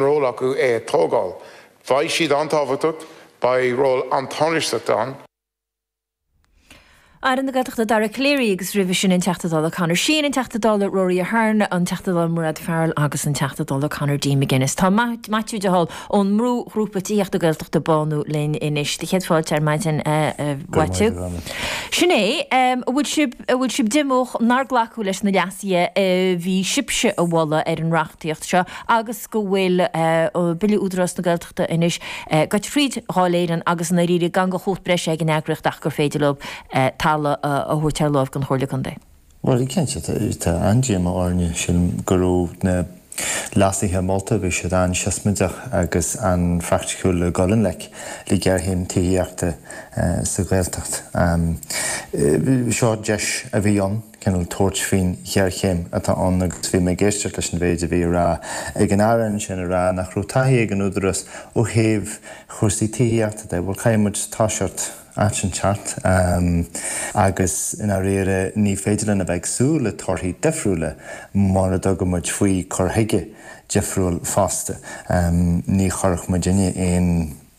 Ról acu é a tógáil. Beidh siad an-tábhachtach, beidh ról an-tánaisteach ann. Aire na Gaeltachta Dara Calleary agus roimhe sin an Teachta Dála Conor Sheehan, an Teachta Dála Rory Ahern, an Teachta Dála Mairéad Farrell agus an Teachta Dála Conor D. McGuinness. Tá Maitiú de Hál ón mbrúghrúpa Tithíochta Gaeltachta Bánú linn anois. Do chéad fáilte ar maidin a Mhaitiú. Sin é, an bhfuil sibh, an bhfuil sibh díomách nár glacadh leis na leasuithe a bhí sibhse a mholadh ar an reachtaíocht seo agus go bhfuil Bille Údarás na Gaeltachta anois gaibhte thríd Dháil Éireann agus i ndáiríre gan de chumhacht breise ag an eagraíocht ach gur féidir leo talamh a thabhairt ar láimh don Chomhairle Contae. Bhuel, cinnte, tá an-díomá orainne. Sílim go raibh na leasuithe molta, bhí siad an-siosmaideach agus an-phraiticiúil le dhul i ngleic le géarchéim tithíochta sa Ghaeltacht. Seo deis a bhí ann. cineál tabhairt faoin ghéarchéim atá ann agus bhí mé ag éisteacht leis an mhéid a bhí á rá ag an Aire ansin ag rá nach raibh taithí ag an Údarás ó thaobh chúrsaí tithíochta de. Bhuel caithfidh muid toiseacht áit inteacht agus i ndáiríre ní féidir linn a bheith ag súil le torthaí difriúla mura dtugann muid faoi cur chuige difriúil fosta. Ní chuirfeadh muidinne aon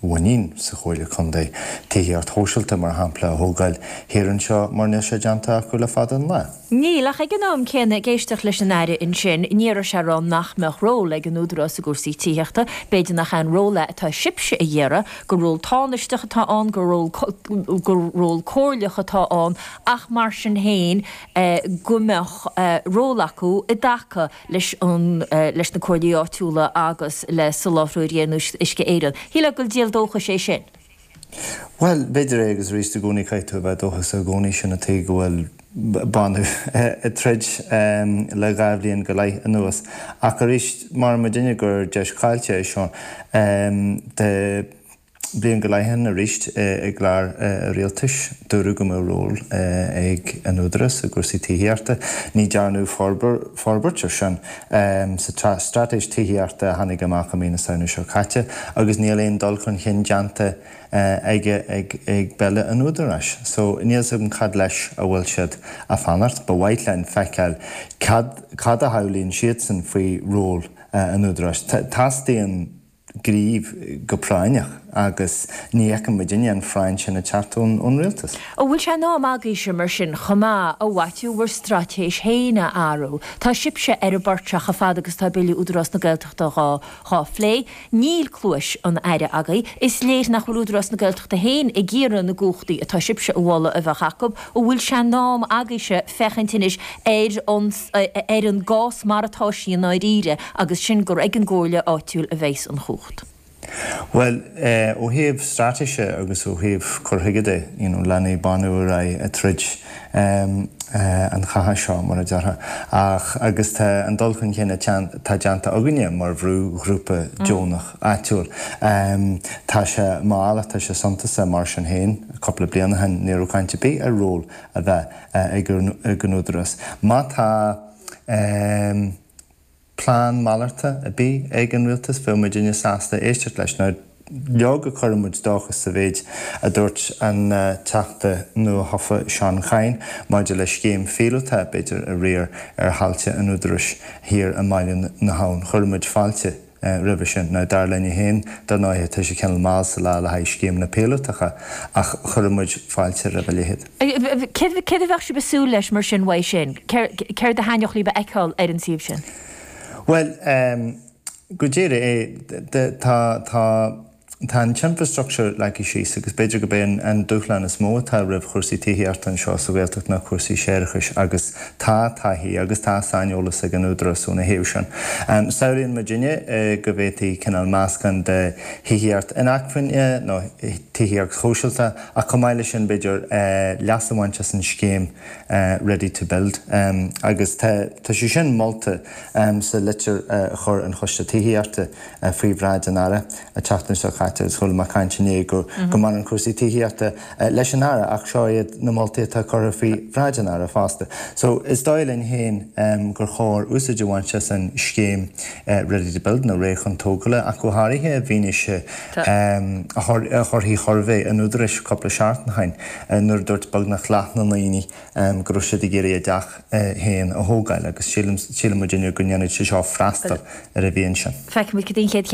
mhuinín sa Chomhairle Contae tithíocht shóisialta, mar shampla, a thógáil thiar anseo mar níl sé déanta acu le fada an lá. Níl, ach ag an am céanna, ag éisteacht leis an Aire ansin, ní raibh sé ag rá nach mbeadh ról ag an Údarás i gcúrsaí tithíochta. B'fhéidir nach é an ról é atá sibhse a iarraidh, gur ról tánaisteach atá ann, gur ról, gur ról comhairleach atá ann, ach mar sin féin go mbeadh ról acu i dtaca leis an, leis na comhairlí áitiúla agus le soláthróirí ar nós Uisce Éireann. Shílfeá gur díol dóchais é sin. Bhuel, b'fhéidir é agus arís i gcónaí caithfidh tú a bheith dóchasach i gcónaí, sin an tuige go bhfuil Bánú ag troid le 2 bhliain go leith anuas. Ach arís, maíonn muidinne gur deis chaillte é seo de. Bliain go leith ó shin arís i gclár rialtais, dúradh go mbeadh ról ag an Údarás i gcúrsaí tithíochta. Ní dearnadh forbairt ar sin sa straitéis tithíochta a tháinig amach i mí na Samhna seo caite agus níl aon dul chun cinn déanta aige ag Bille an Údaráis. So níl 's agam cad leis a bhfuil siad a fanacht. Ba mhaith linn feiceáil cad cad a shamhlaíonn siadsan faoi ról an Údaráis. Teastaíonn gníomh go práinneach agus ní fheiceann muidinne an phráinn sin ag teacht ón rialtas. An bhfuil sé in am agaibhse mar sin chomh maith, a Mhaitiú, bhur straitéis féin a athrú? Tá sibhse ar an bport seo chomh fada agus tá Bille Údarás na Gaeltachta dhá phlé. Níl cluais an Aire agaibh. Is léir nach bhfuil Údarás na Gaeltachta féin ag iarraidh na gcumhachtaí atá sibhse a mholadh a bheadh acu. An bhfuil sé in am agaibhse féachaint anois ar an ar an gcás mar atá sí i ndáiríre agus sin gur ag an gcomhairle áitiúil a bheas an chumhacht. Bhuel, ó thaobh straitéise agus ó thaobh cur chuige de, you know, leanfaidh Bánú ar aghaidh ag troid an chatha seo, mar a déarfá. Ach, agus tá an dul chun cinn atá déanta againne mar bhrúghrúpa deonach áitiúil, tá sé mall ach tá sé suntasach mar sin féin. Cúpla bliain ó shin ní raibh caint ar bith ar ról a bheith ag an Údarás. Má tá plean malartach ar bith ag an Rialtas, bheadh muidinne sásta éisteacht leis. Now, leoga cuireann muid dóchas sa mhéid a dúirt an Teachta nuathofa Seán Kyne maidir le scéim phíolótach, b'fhéidir, a riar ar thailte an Údaráis thiar i mBaile na hAbhann. Chuir muid fáilte roimhe sin. Now, dar linn féin, dar ndóighe, tá sé cineál mall sa lá le haghaidh scéimeanna píolótacha, ach chuir muid fáilte roimh a leithéid. Céard a bheadh sibh ag súil leis mar sin uaidh sin? Céard a thaitneodh libh a fheiceáil ar an suíomh sin? Bhuel, go díreach é, tá, tá, Tá an t-infreastruchtúr leagtha síos agus b'fhéidir gurb é an dúshlán is mó atá roimh chúrsaí tithíochta anseo sa Ghaeltacht ná cúrsaí séarachais agus tá taithí agus tá saineolas ag an Údarás óna thaobh sin. Samhlaíonn muidinne go bhféadfaí cineál meascán de thithíocht inacmhainne nó tithíocht shóisialta ach chomh maith leis sin b'fhéidir leas a bhaint as an scéim Ready to Build agus tá sé sin molta sa litir a chuir an Choiste Tithíochta faoi bhráid an Aire an tseachtain seo caite. caite agus chuala mé caint inné go mbaineann cúrsaí tithíochta leis an Aire ach seo iad na moltaí atá curtha faoi bhráid an Aire fosta. So is dóigh linn féin gur chóir úsáid a bhaint as an scéim Ready to Build nó Réidh chun Tógála ach go háirithe i bhfianaise thorthaí shuirbhé an Údaráis cúpla seachtain ó shin nuair a dúirt beagnach leath na ndaoine go raibh siad ag iarraidh a dteach féin a thógáil agus sílim, síleann muidinne go ndéanfaidh sé seo freastal ar an mhian sin. Feicfimid cad é an chéad chéim.